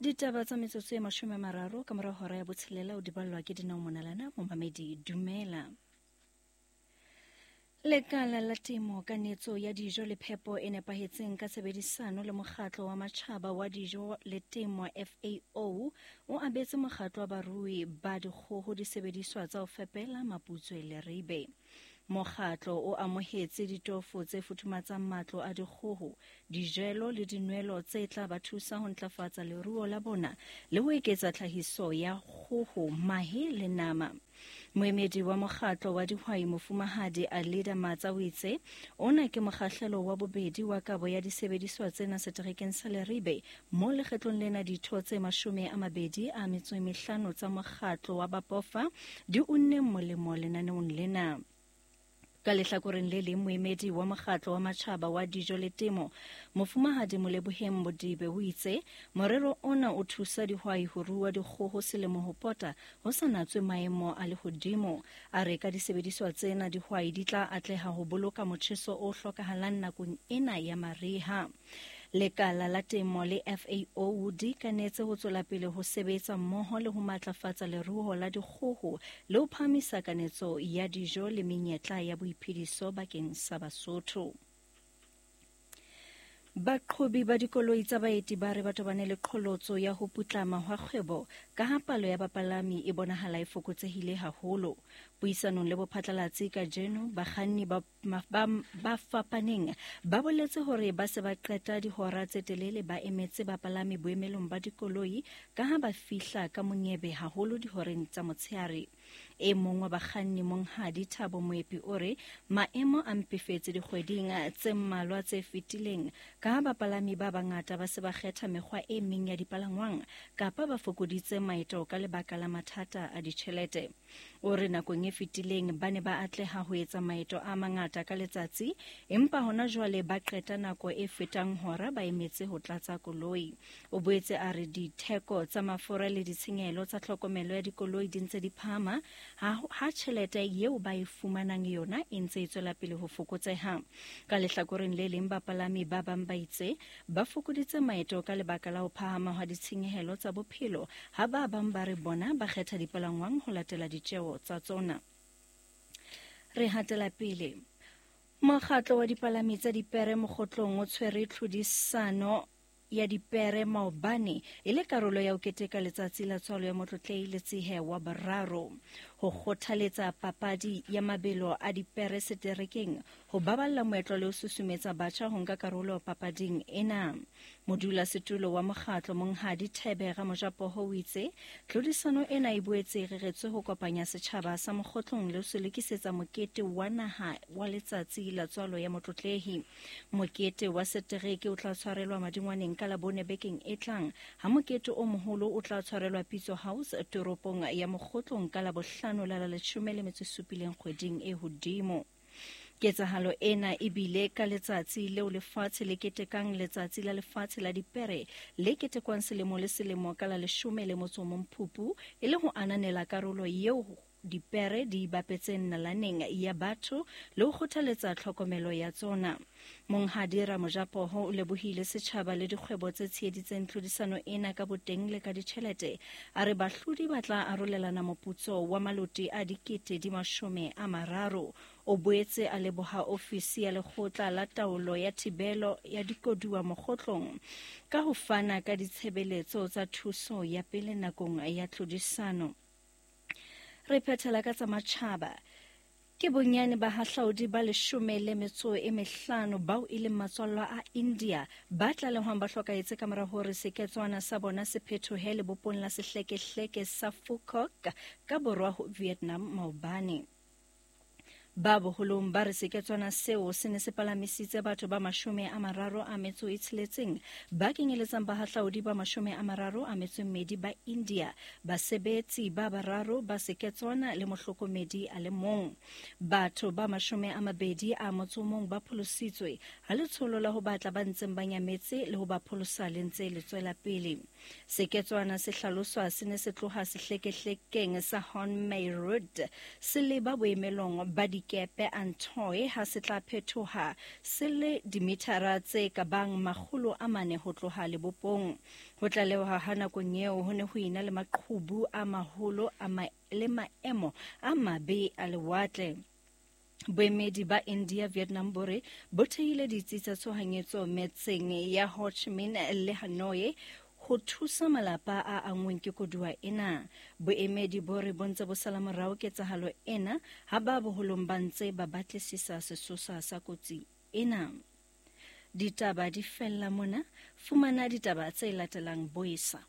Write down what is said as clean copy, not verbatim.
Ditaba tsa metsotso e 30 ka mora hora ya botshelela o di ballwa ke Dinao Monalana. Momamedi, dumela. Lekala la temo, kanetso ya dijo le phepo e nepahetseng ka tshebedisano le mokgatlo wa matjhaba wa dijo le temo FAO o abetse mokgatlo wa barui ba dikgoho disebediswa tsa ho fepela maputswe le ribe. Mokgatlo o amohetse ditofo tse futhumatsang matlo a dikgoho, dijelo le dinwelo tse tla ba thusa ho ntlafatsa leruo la bona le ho eketsa tlhahiso ya kgoho, mahe le nama. Moemedi wa mokgatlo wa dihwai Mofumahadi Alida Matsa o itse ona ke mokgahlelo wa bobedi wa kabo ya disebediswa tsena seterekeng sa Leribe, mo lekgetlong lena ditho tse 25 tsa mokgatlo wa Bapofa di unneng molemo lenaneong lena. Ka lehlakoreng le leng, moemedi wa mokgatlo wa matjhaba wa dijo le temo Mofumahadi Moleboheng Modibe o itse morero ona o thusa dihwai ho rua dikgoho selemo ho pota ho sa natswe maemo a lehodimo. A re ka disebediswa tsena dihwai di tla atleha ho boloka motjheso o hlokahalang nakong ena ya mariha. Lekala la temo le FAO di kanetse ho tswela pele ho sebetsa mmoho le ho matlafatsa leruo la dikgoho le ho phahamisa kanetso ya dijo le menyetla ya boiphediso bakeng sa Basotho. Baqhobi ba dikoloi tsa baeti ba re ba tobane le qholotso ya ho putlama hwa kgwebo ka ha palo ya bapalami e bonahala e fokotsehile haholo. Puisanong le bophatlalatsi kajeno, bakganni ba ba fapaneng ba boletse hore ba se ba qeta dihora tse telele ba emetse bapalami boemelong ba dikoloi ka ha ba fihla ka monyebe haholo dihoreng tsa motshehare. E mong wa bakganni Monghadi Thabo Moepi o re maemo a mpefetse dikgweding tse mmalwa tse fetileng ka ha bapalami ba bangata ba se ba kgetha mekgwa e meng ya dipalangwang kapa ba fokoditse maeto ka lebaka la mathata a ditjhelete. O re nakong e fetileng ba ne ba atleha ho etsa maeto a mangata ka letsatsi, empa hona jwale ba qeta nako e fetang hora ba emetse ho tlatsa koloi. O boetse a re ditheko tsa mafura le ditshenyehelo tsa tlhokomelo ya dikoloi di ntse di phahama ha tjhelete eo ba e fumanang yona e ntse e tswela pele ho fokotseha. Ka lehlakoreng le leng, bapalami ba bang ba itse ba fokoditse maeto ka lebaka la ho phahama hwa ditshenyehelo tsa bophelo, ha ba bang ba re bona ba kgetha dipalangwang ho latela ditjeo tsa tsona. Re hatela pele. Mokgatlo wa dipalami tsa dipere Mokgotlong o tshwere tlhodisano ya dipere maobane e le karolo ya ho keteka letsatsi la tswalo ya Motlotlehi Letsehe wa boraro. Ho kgothaletsa papadi ya mabelo a dipere seterekeng, ho baballa moetlo le ho susumetsa batjha ho nka karolo papading ena. Modulasetulo wa mokgatlo Monghadi Thebe Ramojapoho o itse tlhodisano ena e boetse e reretswe ho kopanya setjhaba sa Mokgotlong le ho se lokisetsa mokete wa naha wa letsatsi la tswalo ya Motlotlehi. Mokete wa setereke o tla tshwarelwa Madingwaneng ka Labone bekeng e tlang, ha mokete o moholo o tla tshwarelwa Pitso House toropong ya Mokgotlong ka Labohlano la la 17 kgweding e hodimo. Ketsahalo ena e bile ka letsatsi leo lefatshe le ketekang Letsatsi la Lefatshe la Dipere le ketekwang selemo le selemo ka la 11 Phupu e le ho ananela karolo eo dipere di bapetseng nalaneng ya batho le ho kgothaletsa tlhokomelo ya tsona. Monghadi Ramojapoho o lebohile setjhaba le dikgwebo tse tsheheditseng tlhodisano ena ka boteng le ka ditjhelete. A re bahlodi ba tla arolelana moputso wa maloti a 30,000. O boetse a leboha ofisi ya lekgotla la taolo ya thibelo ya dikoduwa Mokgotlong ka ho fana ka ditshebeletso tsa thuso ya pele nakong ya tlhodisano. Re phethela ka tsa matjhaba. Ke bonyane bahahlaudi ba 15 bao e leng matswallwa a India ba tlalehwang ba hlokahetse ka mora hore seketswana sa bona se phethohe lebopong la sehlekehleke sa Phu Quoc ka borwa ho Vietnam maobane. Ba boholong ba re seketswana seo se ne se palamisitse batho ba 36 ba kenyeletsang bahahlaudi ba 32 ba India, basebetsi ba bararo ba seketswana le mohlokomedi a le mong. Batho ba 21 ba pholositswe ha letsholo la ho batla ba ntseng ba nyametse le ho ba pholosa le ntse le tswela pele. Seketswana se hlaloswa se ne se tloha sehlekehlekeng sa Hon Mai Road se leba boemelong ba di dikepe Antoi ha se tla phethoha se le dimithara tse ka bang 400 ho tloha lebopong. Ho tlalewa ha nakong eo ho ne ho ena le maqhubu a maholo le maemo a mabe a lewatle. Boemedi ba India Vietnam bo re bo thehile ditsi tsa tshohanyetso metseng ya Ho Chi Minh le Hanoi ho thusa malapa a anngweng ke koduwa ena. Boemedi bo re bo ntse bo sala morao ketsahalo ena ha ba boholong ba ntse ba batlisisa sesosa sa kotsi ena. Ditaba di fella mona. Fumana ditaba tse latelang boesa.